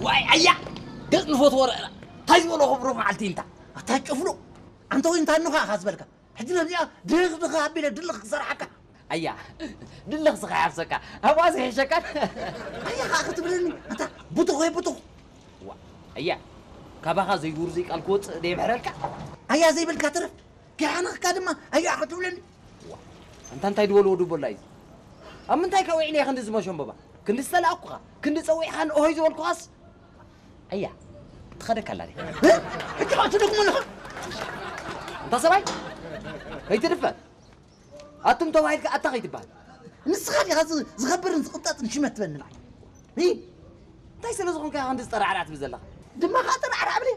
ዋይ ኣያ፣ ገጽ ንፈትዎ ረእና። እንታይ ዝበሎ ክብሮ መዓልቲ ኢልታ? ኣታ ጭፍሉ፣ ኣንተ ወይ እንታይ እንኻ ኢኻ ዝበልካ? ሕጂ ነዚኣ ድኽ ድኽ ኣቢለ ድልኽ ክሰርሓካ። ኣያ፣ ድልኽ ስኻ ይሓፍሰካ፣ ኣብኣ ዘይሕሸካን። ኣያ ኸኣ ክትብለኒ፣ ኣታ ብቱኽ ወይ ብቱኽ። ዋ፣ ኣያ፣ ካባኻ ዘይውርዙይ ቃል ክወጽእ ደየምሕረልካ? ኣያ ዘይበልካ ትረፍ፣ ከይሓነኽካ ድማ ኣያ ክትብለኒ። ዋ፣ ኣንታ እንታይ ዝበልዎ ድቦላ እዩ? ኣብ ምንታይ ከ ውዒለ እየ ክንዲ ዝመሸንበባ? ክንዲ ዝተላእኩኻ፣ ክንዲ ጸዊዕኻን ኦሆይ ዝበልኩኻስ? ኣያ፣ ትኸደካ ኣላ ድያ? እ? ሕጂ ኸኣ ትደግሞ ኣለኻ? እንታ ሰብኣይ፣ ከይትድፈር። ኣቱም ተባሂልካ ኣታ ከይትበሃል። ንስኻ ዲኻ ዝ-፣ ዝኸብርን ዝቕንጠጥን ሽመት ትበኒ ንዓይ? እ? እንታይ ስለ ዝኾንካ ኢኻ ክንዲ ዝጠራዕራዕ ትብል ዘለኻ? ድማ ኸኣ ጠራዕራዕ ብለይ።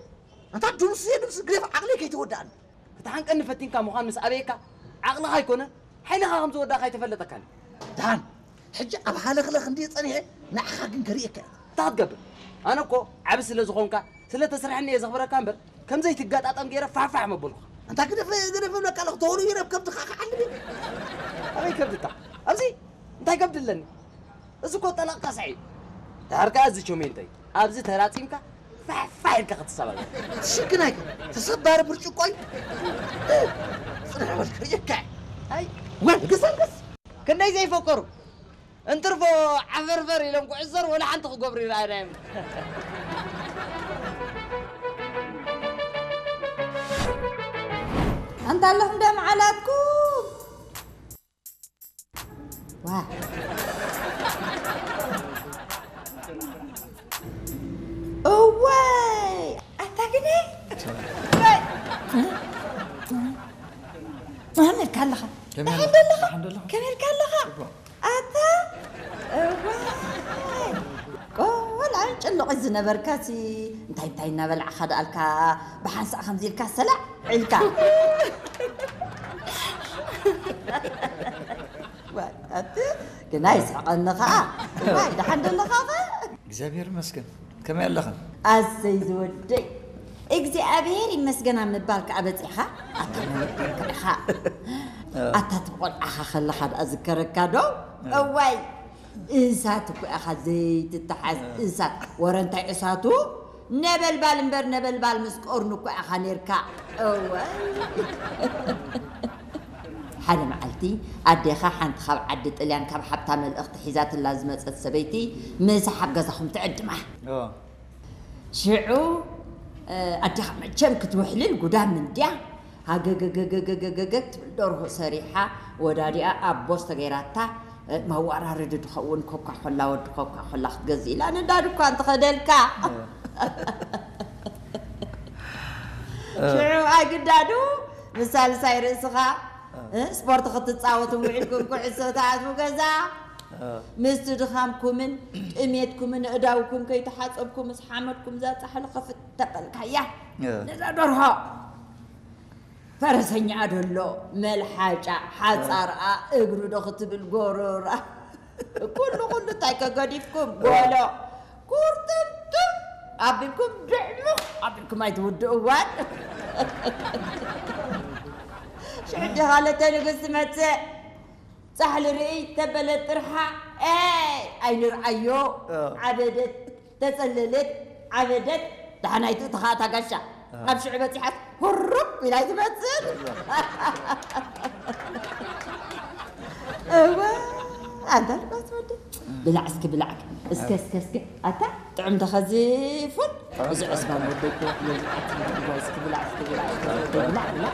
ኣንታ ድምሱ እየ ድምሱ ግደፍ ዓቕለይ ከይትወድኣኒ። ክትሓንቀኒ ፈቲንካ ምዃን ምስ ኣበየካ፣ ዓቕልኻ ኣይኮነን፣ ሓይልኻ ከም ዝወዳእካ ኣይተፈለጠካን። ደሓን፣ ሕጂ ኣብ ሃለኽለኽ እንድየ ጸኒሐ፣ ንዓኻ ግን ከርእየካ እየ። እንታይ ክትገብር? ኣነ እኮ ዓቢ ስለ ዝኾንካ፣ ስለ ተስርሐኒ እየ ዘኽብረካ እምበር፣ ከም ዘይትገጣጠም ገይረ ፋሕፋሕ መበልኩኻ። ኣንታ ግደፈ፣ ግደፈ እብለካ ኣለኹ፣ ተወልዩ ናብ ከብድኻ ክዓልብ እየ። ኣበይ ከብድካ? ኣብዚ እንታይ ከብዲ ኣለኒ? እዚ እኮ ጠላቕ ካስዐ እዩ። ድሓር ከኣ እዚ ቸሜንቶ እዩ። ኣብዚ ተራጺምካ ፋሕ ፋሕ ኢልካ ክትሰባበር። ሽግናይ ተሰባሪ ብርጭቆ እዩ። ጽንሕ በል ክርእየካ እየ። ኣይ፣ ወል ግሰልግስ። ክንደይ ዘይፈከሩ። እንትርፎ ዓፈርፈር ኢሎም ክዕሰር ወላ ሓንቲ ክገብሩ ይረኣየና እዮም። ኣንታ ኣለኹም ዶ መዓላትኩም? ዋ። እዋይ! ኣታ ግደ! እዋይ! መን ኢልካ ኣለኻ? ከመይ ደሓን ኣለኻ? ዶ ኣለኻ? ደሓን ዶ ኣለኻ? ከመይ ኢልካ ኣለኻ? ጽቡቕ። ኣታ! እዋይ! ቆልዓ ጭሉቕ ዝነበርካሲ እንታይ እንታይ እናበላዕኻ ደኣልካ ብሓንሳእ ከምዚ ኢልካ ሰላዕ ኢልካ? ዋይ፣ ኣቲ ግና ይስሕቐኒ ኸኣ። ዋይ፣ ደሓን ዶ ኣለኻ ኸ? እግዚኣብሔር ይመስገን። ከመይ ኣለኽን? ኣሰይ ዝወደይ፣ እግዚኣብሔር ይመስገን ኣብ ምባል ከኣ በጺሕኻ። ኣታ መን ኢኻ? ኣታ እቲ ብቆልዓኻ ከለኻ ደኣ ዝከረካ ዶ? እዋይ፣ እሳት እኮ ኢኻ ዘይትተሓዝ፣ እሳት። ወረ እንታይ እሳቱ? ነበልባል እምበር ነበልባል ምስ ቀርኑ እኮ ኢኻ ኔርካ። እዋይ። ሓደ መዓልቲ ኣዴኻ ሓንቲ ካብ ዓዲ ጥልያን ካብ ሓብታ መልእኽቲ ሒዛትላ ዝመጸት ሰበይቲ ምሳሕ ኣብ ገዛኹም ትዕድማ። ኦ። ሽዑ፣ እ፣ ኣዴኻ መቸም ክትውሕልል ጉዳም እንድያ፣ ሃገገገገገገገ ትብል ደርሆ ሰሪሓ፣ ወዳዲኣ ኣብ ቦስ ተገይራታ፣ እ፣ መዋራረዲ ድኸውን ኮካ ኮላ፣ ወዲ ኮካ ኮላ ክትገዝእ ኢላ ነዳ ድኳን ትኸደልካ። እ። ሽዑ ኣይግዳዱ፣ ምስ ሳልሳይ ርእስኻ፣ እ፣ ስፖርት ክትጻወቱ ውዒልኩም፣ ኩዕሶ ትኣትዉ ገዛ። እ። ምስቲ ድኻምኩምን ጥሜትኩምን ኣእዳውኩም ከይተሓጸብኩም፣ ምስ ሓመድኩም እዛ ጻሕሊ ክፍት ተበልካያ። እ። ነዛ ደርሆ። ፈረሰኛኣ ደሎ፣ መልሓጫ፣ ሓጻርኣ፣ እግሩ ዶ ክትብል ጎሮራ። ኩሉ ኩሉ እንታይ ከገዲፍኩም? ጎሎ። ኩርትምትም ኣቢልኩም ድዕሙቕ ኣቢልኩም ኣይትውድእዋን። ሽዑ ዲኻ ለተ ንግስቲ መጽእ። ጻሕሊ ርእይ ተበለት ጥርሓ፣ ኤይ፣ ኣይንርኣዮ። እ። ዓበደት፣ ተጸለለት፣ ዓበደት፣ ደሓናይቱ እታ ኸኣ እታ ጋሻ። እ። ኣብ ሽዑ በጺሓስ፣ ሁሩብ ኢላ ኣይትመጽእን። እወ፣ ኣንታ ልባስ ወዲ። ብላዕ እስኪ፣ ብላዕ። እስከ፣ እስከ፣ እስከ። ኣታ ጥዑም ተኸዚፉን። እዚ ዕስባን ወደይ እኮ ነዚ ዓቲ ይግባይ እስኪ ብላዕ፣ እስኪ ብላዕ፣ እስኪ ብላዕ፣ ብላዕ፣ ብላዕ።